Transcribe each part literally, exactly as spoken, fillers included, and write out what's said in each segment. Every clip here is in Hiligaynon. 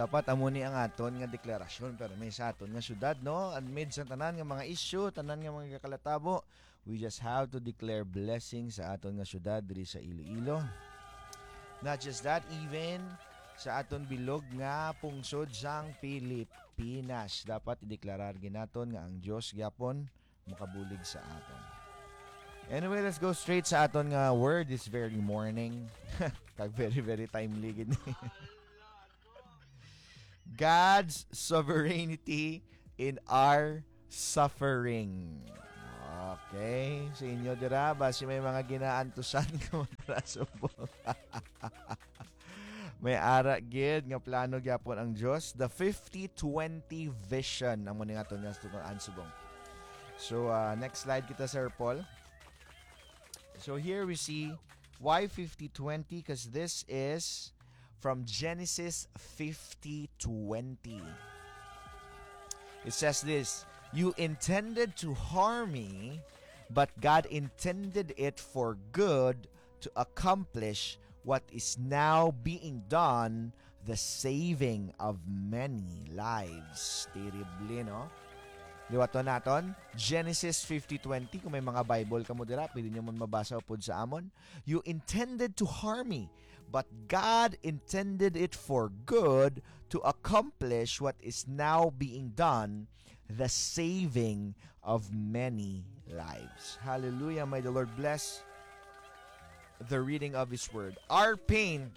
Dapat amo ni ang aton nga deklarasyon, pero may sa aton nga syudad, no? Amid sa tanan nga mga isyu, tanan nga mga kalatabo, we just have to declare blessing sa aton nga syudad diri sa Iloilo. Not just that, even sa aton bilog nga pungsod sang Pilipinas, dapat ideklarar gid naton nga ang Dios gyapon makabulig sa aton. Anyway, let's go straight sa aton nga word this very morning. Kag very, very timely gid ni. God's sovereignty in our suffering. Okay, sa inyo dira, basi may mga ginaantusan ka mga subong. May ara gid nga plano gyapon ang Dios. The fifty twenty vision, amo ni nga to nga subong. So, uh, next slide kita, Sir Paul. So here we see why fifty twenty, because this is from Genesis fifty twenty. It says this, "You intended to harm me, but God intended it for good to accomplish what is now being done, the saving of many lives." Terrible, no? Liwaton naton, Genesis fifty twenty. Kung may mga Bible kamo dira, pwede nyo man mabasa upod sa amon. "You intended to harm me, but God intended it for good to accomplish what is now being done, the saving of many lives." Hallelujah. May the Lord bless the reading of His Word. Our pain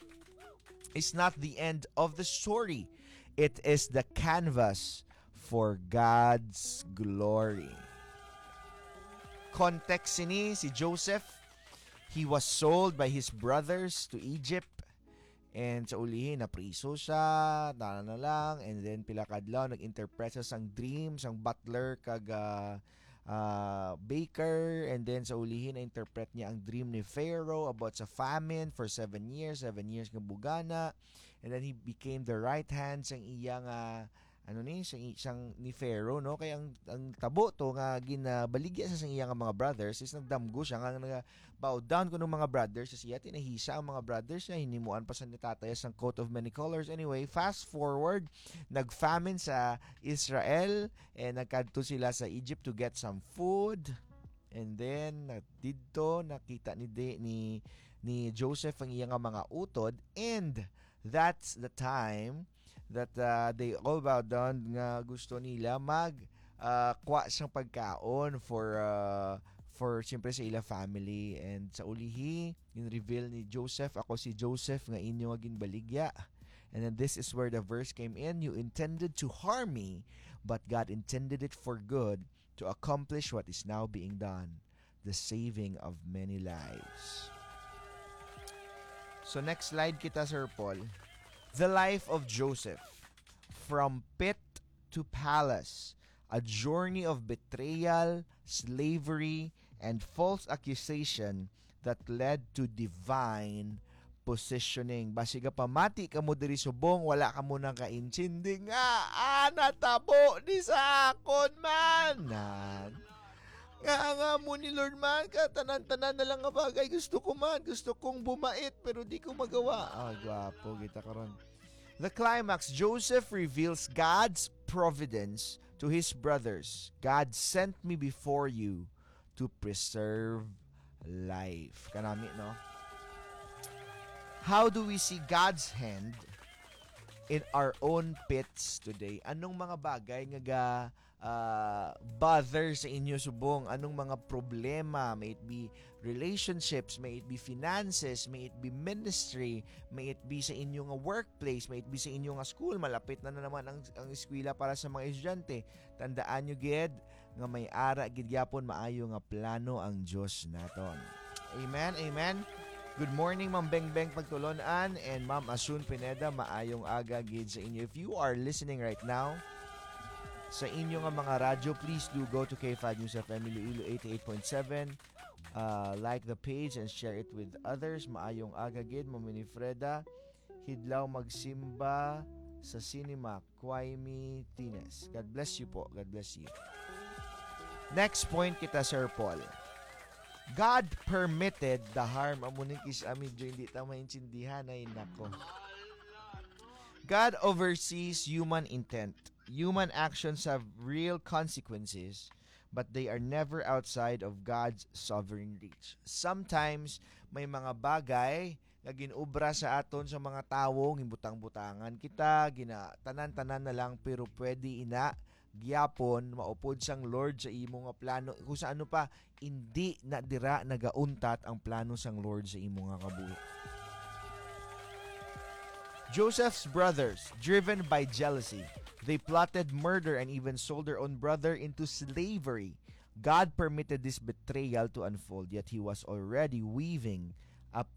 is not the end of the story. It is the canvas for God's glory. Context sini, si Joseph, he was sold by his brothers to Egypt. And sa ulihi, napriso siya, tana na lang. And then, pila ka adlaw, nag-interpret siya sang dream, sang butler, kag, ah, ah, baker. And then, sa ulihi, na-interpret niya ang dream ni Pharaoh about sa famine for seven years, seven years nga bugana. And then, he became the right hand sang iya nga, ano ni, sang, sang ni Pharaoh, no? Kaya ang, ang tabo to nga ginabaligya sa sang iya nga mga brothers is nagdamgo siya nga naga-bow down kuno mga brothers sa iya, tinahisa ang mga brothers niya, hinimuan pa sa ni tatay sang coat of many colors. Anyway, fast forward, nag-famine sa Israel, and nagkadto sila sa Egypt to get some food. And then, na-, didto nakita ni, di, ni, ni Joseph ang iya nga mga utod, and that's the time that, uh, they all bowed down nga gusto nila mag, uh, kuha sang pagkaon for, uh, for, siyempre, sa ila family. And sa ulihi, gin-reveal ni Joseph, "Ako si Joseph nga inyo nga ginbaligya." And then this is where the verse came in, "You intended to harm me, but God intended it for good to accomplish what is now being done, the saving of many lives." So next slide kita, Sir Paul. The life of Joseph, from pit to palace, a journey of betrayal, slavery, and false accusation that led to divine positioning. Basi gapamati kamo diri subong, wala kamo nakaintindi nga, ah, natabo ni sa akon man. Nan. Nga, nga mo ni Lord man, ka tanan-tanan na lang nga bagay gusto ko man. Gusto kong bumait, pero di ko magawa. Ah, gwapo kita karon. The climax, Joseph reveals God's providence to his brothers. "God sent me before you to preserve life." Kanami, no? How do we see God's hand in our own pits today? Anong mga bagay nga ga, ah, bother sa inyo subong? Anong mga problema? May it be relationships, may it be finances, may it be ministry, may it be sa inyo nga workplace, may it be sa inyo nga school. Malapit na, na naman ang, ang eskwela para sa mga estudyante. Tandaan nyo gid nga may ara gid gyapon maayo nga plano ang Dios naton. Amen, amen. Good morning, Ma'am Bengbeng Pagtulon-an and Ma'am Asun Pineda. Maayong aga gid sa inyo. If you are listening right now, sa inyo nga mga radyo, please do go to K five News F M Iloilo eighty-eight point seven. Uh, like the page and share it with others. Maayong aga gid, Ma'am Winifreda. Hidlaw magsimba sa cinema, Quaimi Tines. God bless you po. God bless you. Next point kita, Sir Paul. God permitted the harm. Amo ni kis-, ah, medyo hindi ta maintindihan, ay nako. God oversees human intent. Human actions have real consequences, but they are never outside of God's sovereign reach. Sometimes, may mga bagay nga ginobra sa aton sa mga tawo, ginbutang-butangan kita, gina, tanan-tanan na lang, pero pwede ina gyapon maupod sang Lord sa imo nga plano. Kung sa ano pa, hindi na dira nagauntat ang plano sang Lord sa imo nga kabuhi. Joseph's brothers, driven by jealousy, they plotted murder and even sold their own brother into slavery. God permitted this betrayal to unfold, yet he was already weaving